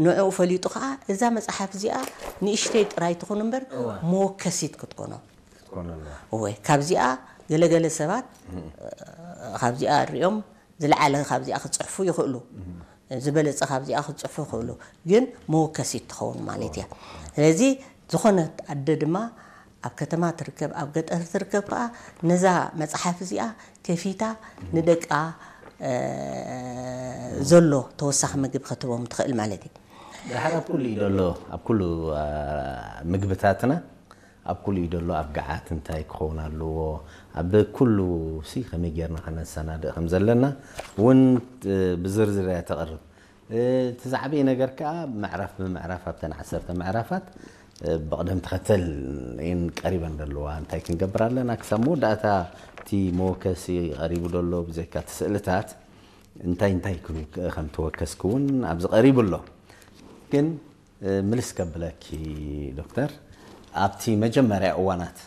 ንዕኡ ፈሊጡ ከዓ እዛ መፅሓፍ እዚኣ ንእሽተይ ጥራይ ትኹን እምበር መወከሲት ክትኮኖ። እወ፣ ካብዚኣ ገለገለ ሰባት ካብዚኣ ሪኦም ዝለዓለ ካብዚኣ ክፅሕፉ ይኽእሉ፣ ዝበለፀ ካብዚኣ ክፅሕፉ ይኽእሉ፣ ግን መወከሲት ትኸውን ማለት እያ። ስለዚ ዝኾነት ኣደ ድማ ኣብ ከተማ ትርከብ ኣብ ገጠር ትርከብ ከዓ ነዛ መፅሓፍ እዚኣ ከፊታ ንደቃ ዘሎ ተወሳኺ ምግቢ ክትቦም ትኽእል ማለት እዩ። ድሓር ኣብ ኩሉ እዩ ዘሎ፣ ኣብ ኩሉ ምግብታትና ኣብ ኩሉ እዩ ዘሎ። ኣብ ገዓት እንታይ ክኸውን ኣለዎ፣ ኣብ ኩሉ ሲ ከመይ ጌርና ከነሰናድእ ከም ዘለና እውን ብዝርዝር እያ ተቕርብ። እቲ ዝዓበየ ነገር ከዓ ምዕራፍ ብምዕራፍ ኣብተን ዓሰርተ ምዕራፋት ብቕደም ተኸተል እየን ቀሪበን ዘለዋ። እንታይ ክንገብር ኣለና ክሳብ መወዳእታ እቲ መወከሲ ቀሪቡ ዘሎ ብዘይካ እቲ ስእልታት እንታይ እንታይ ከም ትወከስኪ እውን ኣብዚ ቀሪቡ ኣሎ። ግን ምልስ ከብለኪ ዶክተር፣ ኣብቲ መጀመርያ እዋናት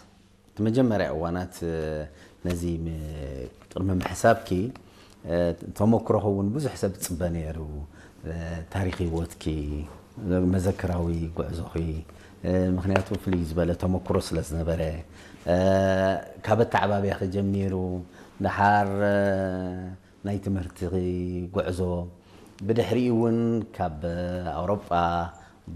እቲ መጀመርያ እዋናት ነዚ ቅድሚ ምሕሳብኪ ተመክሮኺ እውን ብዙሕ ሰብ ዝፅበ ነይሩ። ታሪክ ህይወትኪ፣ መዘክራዊ ጉዕዞኺ፣ ምክንያቱ ፍልይ ዝበለ ተመክሮ ስለ ዝነበረ፣ ካብ ኣተዓባብያኺ ጀሚሩ ድሓር ናይ ትምህርቲ ጉዕዞ፣ ብድሕሪኡ እውን ካብ ኣውሮጳ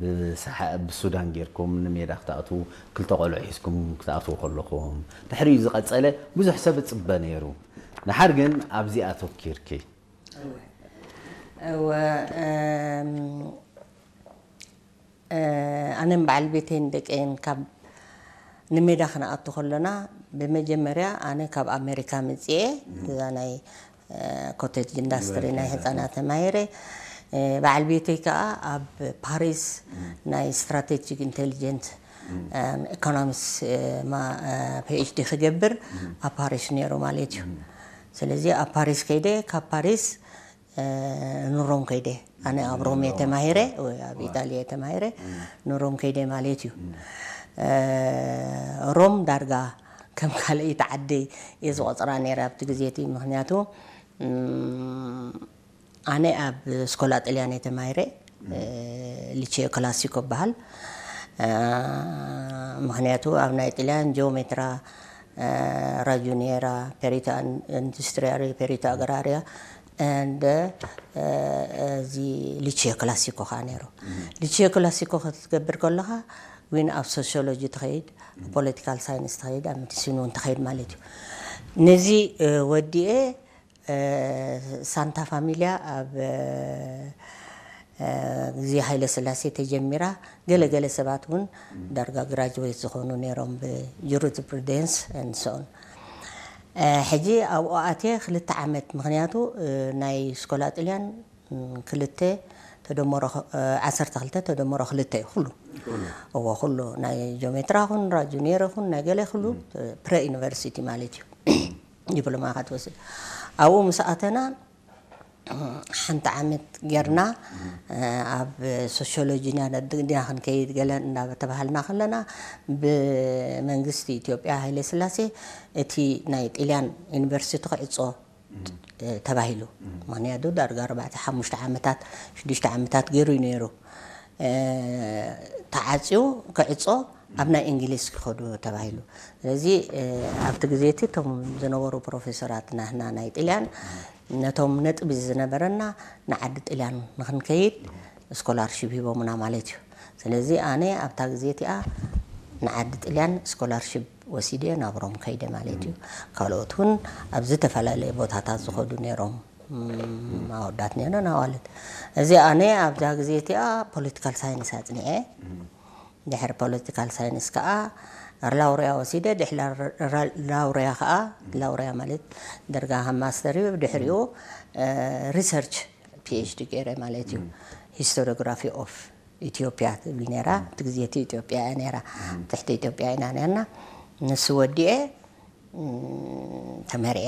ብሳሓ ብሱዳን ጌርኩም ንሜዳ ክትኣትዉ፣ ክልተ ቆልዑ ሒዝኩም ክትኣትዉ ከለኹም፣ ድሕሪኡ ዝቐጸለ ብዙሕ ሰብ እጽበ ነይሩ። ድሓር ግን ኣብዚ ኣተኪርኪ። እወ፣ እም፣ ኣነን በዓል ቤተይን ደቀይን ካብ ንሜዳ ክንኣቱ ከለና፣ ብመጀመርያ ኣነ ካብ ኣሜሪካ መፅኤ እዛ ናይ ኮቴጅ ኢንዳስትሪ ናይ ህፃናት ተማሂረ። በዓል ቤተይ ከዓ ኣብ ፓሪስ ናይ ስትራቴጂክ ኢንቴሊጀንት ኢኮኖሚክስ ፒኤችዲ ክገብር ኣብ ፓሪስ ነይሩ ማለት እዩ። ስለዚ ኣብ ፓሪስ ከይደ፣ ካብ ፓሪስ ንሮም ከይደ። ኣነ ኣብ ሮም እየ ተማሂረ፣ ወይ ኣብ ኢጣልያ እየ ተማሂረ፣ ንሮም ከይደ ማለት እዩ። ሮም ዳርጋ ከም ካልኣይቲ ዓደይ እየ ዝቆፅራ ነይረ ኣብቲ ግዜ እቲ። ምክንያቱ ኣነ ኣብ ስኮላ ጥልያን እየ ተማሂረ፣ ሊቼዮ ክላሲኮ ይበሃል። ምክንያቱ ኣብ ናይ ጥልያን ጂኦሜትራ፣ ራጁኒየራ፣ ፔሪታ ኢንዱስትሪያሪ፣ ፔሪታ ኣግራሪያ፣ and እዚ ሊቼዮ ክላሲኮ ከዓ ነይሩ። ሊቼዮ ክላሲኮ ክትገብር ከለካ ዊን ኣብ ሶሲዮሎጂ ትኸይድ፣ ፖለቲካል ሳይንስ ትኸይድ፣ ኣብ ሜዲሲን እውን ትኸይድ ማለት እዩ። ነዚ ወዲኤ ሳንታ ፋሚልያ ኣብ ግዜ ሃይለ ስላሴ ተጀሚራ፣ ገለ ገለ ሰባት እውን ዳርጋ ግራጅዌት ዝኾኑ ነይሮም ብጁሪስፕሩደንስ and so on። ሕጂ ኣብኡ ኣትየ ክልተ ዓመት፣ ምክንያቱ ናይ ስኮላ ጥልያን ክልተ ተደመሮ ዓሰርተ ክልተ ተደመሮ ክልተ እዩ ኩሉ። እዎ፣ ኩሉ ናይ ጂኦሜትራ ኹን ራጁኒየር ኹን ናይ ገለ ኩሉ ፕረ ዩኒቨርሲቲ ማለት እዩ። ዲፕሎማ ክትወስድ ኣብኡ ምስ ኣተና ሓንቲ ዓመት ጌርና ኣብ ሶሲዮሎጂ ኢና ክንከይድ ገለ እናተባሃልና ከለና ብመንግስቲ ኢትዮጵያ ሃይለ ስላሴ እቲ ናይ ጥልያን ዩኒቨርሲቲ ክዕጾ ተባሂሉ። ምክንያቱ ዳርጋ ኣርባዕተ ሓሙሽተ ዓመታት ሽዱሽተ ዓመታት ገይሩ እዩ ነይሩ። ተዓፅዩ ክዕፆ ኣብ ናይ እንግሊዝ ክኸዱ ተባሂሉ። ስለዚ ኣብቲ ግዜ እቲ እቶም ዝነበሩ ፕሮፌሰራት ናህና ናይ ጥልያን ነቶም ነጥቢ ዝነበረና ንዓዲ ጥልያን ንክንከይድ ስኮላርሺፕ ሂቦምና ማለት እዩ። ስለዚ ኣነ ኣብታ ግዜ እቲኣ ንዓዲ ጥልያን ስኮላርሺፕ ወሲደ ናብ ሮም ከይደ ማለት እዩ። ካልኦት እውን ኣብ ዝተፈላለየ ቦታታት ዝኸዱ ነይሮም፣ ኣወዳት ነይሮን ኣዋልድ። እዚ ኣነ ኣብዛ ግዜ እቲኣ ፖለቲካል ሳይንስ ኣፅኒዐ። ድሕሪ ፖለቲካል ሳይንስ ከዓ ላውሪያ ወሲደ። ድሕሪ ላውሪያ ከዓ፣ ላውሪያ ማለት ደርጋ ከም ማስተር እዩ። ድሕሪኡ ሪሰርች ፒኤችዲ ገይረ ማለት እዩ። ሂስቶሪዮግራፊ ኦፍ ኢትዮጵያ ትብል ነይራ። እቲ ግዜ እቲ ኢትዮጵያ እያ ነይራ፣ ትሕቲ ኢትዮጵያ ኢና ነርና። ንሱ ወዲኤ ተመርዐ